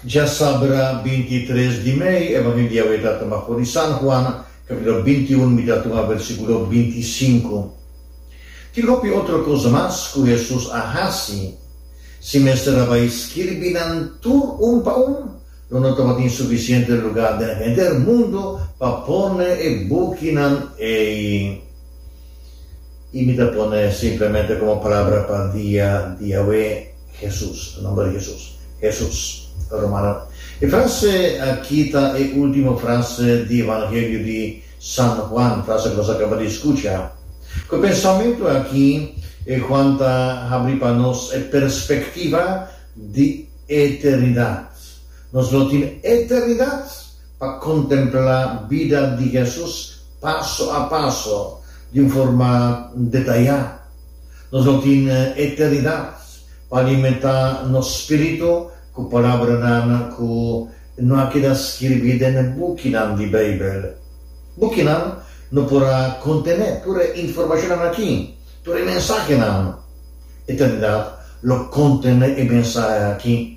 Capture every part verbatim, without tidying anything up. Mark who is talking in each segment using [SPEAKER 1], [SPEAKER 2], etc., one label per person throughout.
[SPEAKER 1] Djasabra binti tres di mei, Evangelio di awe ta tuma for di San Juan, capítulo binti un, mi ta tuma versículo binti sinku. Tin hopi otro kos mas ku Hesus a hasi. Si mester a bai skirbi nan tur un pa un, lo no tabatin sufisiente lugá den henter mundu pa pone e bukinan ei. I mi ta pone simplemente komo palabra pa dia di awe, Hesus, e nomber di Hesus. Hesus. Rumannan, e frase aki ta e último frase di Evangelio di San Juan, frase ku nos a kaba di skucha. Ku e pensamentu aki, Juan ta habri pa nos e perspektiva di eternidat. Nos lo tin eternidat pa kontemplá bida di Hesus paso a paso, di un forma detayá. Nos lo tin eternidat pa alimentá nos spiritu ku palabranan ku no a keda skirbí den bukinan di Beibel. Bukinan no por a kontené tur e informashonnan akí, tur e mensahenan. Eternidat lo kontené e mensahe akí.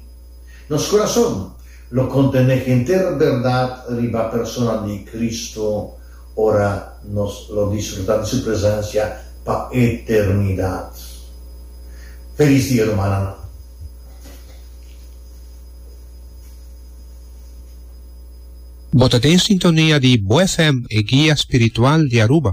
[SPEAKER 1] Nos kurason lo kontené henter bèrdat riba persona di Kristu ora nos lo disfrutá di su presensia pa eternidat. Felis dia, rumannan!
[SPEAKER 2] Bo ta den sintonia di Bo F M, e guia spiritual di Aruba.